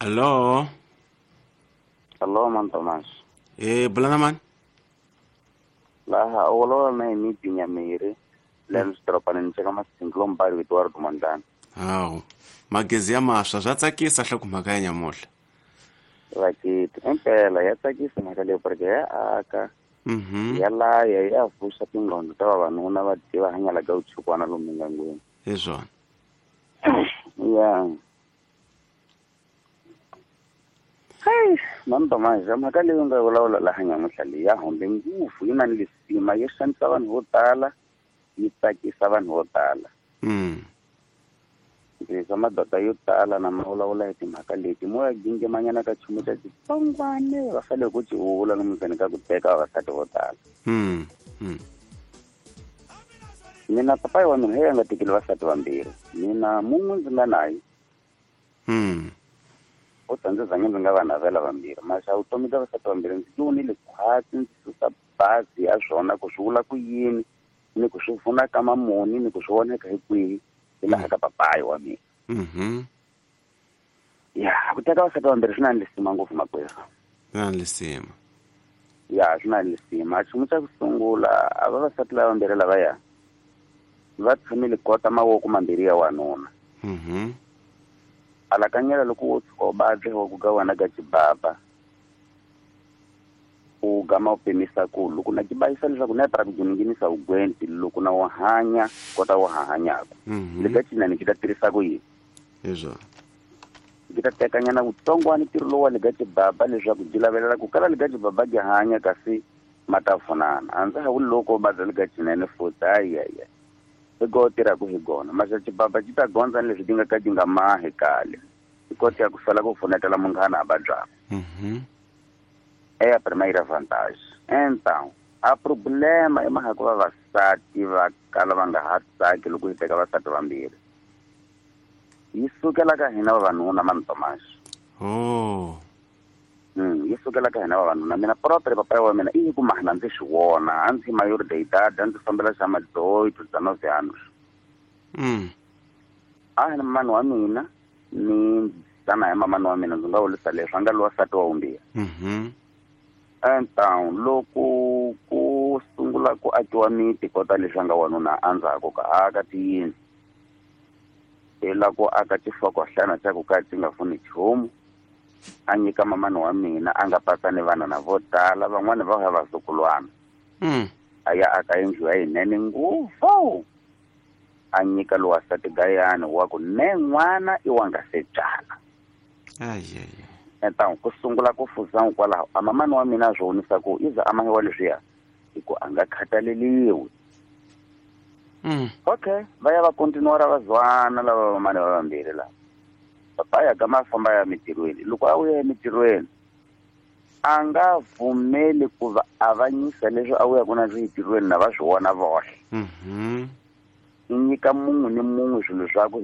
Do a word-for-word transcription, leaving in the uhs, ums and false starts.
Allo. Allo man Thomas. Eh bulana man. Laha olola na mi pinyamiri. Lens dropanen cheka masinglo mbari Eduardo Mandana. Hawu. Magezi ya maswa swa tsakisa hle ku mhaka ya nyamuhla. Vakiti impela ya tsakisa mhaka leyi porque ya aka. Mhm. Ya laya ya vuxa tingqondo ta vavanuna va tiva hanyala ka utshukwana lomu ngangweni. Hi swona. Ya. Hey, man Thomas, mhaka leyi nga vulavula laha nyamuhla leyi ya hombe ngopfu yi na ni lisima yi xanisa vanhu vo tala yi tsakisa vanhu vo tala. Mm. Ndzi madoda yo tala na ma vulavula hi timhaka leti mo ya gingimanyana ka nchumu xa xitsongwane va fanele ku ci vula lomu ndzeni ka ku teka vavasati vo tala. Mm. Mm. Mina papayi wa mina hi ya nga tekeli vasati vambirhi mina mun'we ndzi nga naye. Mm. U ta ndzi zange ndzi nga va navela vambirhi maxa vutomi bya vasati vambirhi ndzi vonile khwatsi ndzi susa bazi ya swona ku swi vula ku yini ni ku swi pfuna ka mamuni ni ku swi voneka hi kwihi hi laha ka papayi wa mina. Mhm. Ya ku teka vasati vambirhi swi na lisima ngopfu makwerhu. Swi na lisima. Ya swi na lisima nchumu xa ku sungula a vavasati lava vambirhi lavaya va tshamile kota mavoko mambirhi ya wanuna. Mhm. Alakanyela loko wo tshuka u vabya wa ku ga wena ka xibaba u gama u pimisa ku loko na kibayisa leswaku na para ku nghenisa ugwenti loko na wo hanya kota wo hanyaka. Mhm. Le ka cinani ki ta tirhisa ku yini? Hi swona. Ki ta tekanyana vutsongwana ntirho lowu wa le ka xibaba leswaku byi lavelela ku kala le ka xibaba byi hanya kasi ma ta pfunana. A ndza ha vuli loko u vabya le ka cinene futhi hayi hayi hi go tirhaka hi gona maxa xibaba xi ta gondza ni leswi ti nga ka ti nga mahi kale hi kota ya ku sala ku pfunetela munghana a vabyaka. Mhm. É a primeira vantagem. Então, a problema i mhaka ku vavasati va kala va nga ha tsaki loko hi teka vasati vambirhi. Yi sukela ka hina vavanuna man Thomas. Oh. Mm, yi sukela ka hina vavanuna. Mina propre papayi wa mina i ku mahana ndzi swi vona a ndzi maior de idade a ndzi fambela xa madoito dezenove anos. Mm. A hi na mamani wa mina ni tana ya mamani wa mina ndzi nga vurisa leswi a nga lowa nsati wa vumbirhi. Mhm. Então loko ku sungula ku akiwa miti kota leswi a nga wanuna endzhaku ka aka tiyindlu hi la ku aka xihlokohlana xa ku ka xi nga pfuni nchumu a nyika mamani wa mina a nga patsa ni vana na vo tala van'wani va ha vazukulwana. Mm. A ya aka yindlu ya yinene ngopfu a nyika lowa nsati gayani wa ku ne n'wana i wa nga se byala. Ai ai. Então ku sungula ku fuza kwalaho a mamani wa mina swi vonisa ku i za a mahiwa leswiya hi ku a nga khathaleliwi. Mm. Okay, va ya va continuara va zwana lava vamani va vambirhi lava. Papa ya gama famba ya mitirhweni loko a vuya emitirhweni a nga pfumeli ku va avanyisa leswi a vuyaku na swi entirhweni na va swi vona voxe. Mhm. I nyika munhu ni munhu swilo swa ku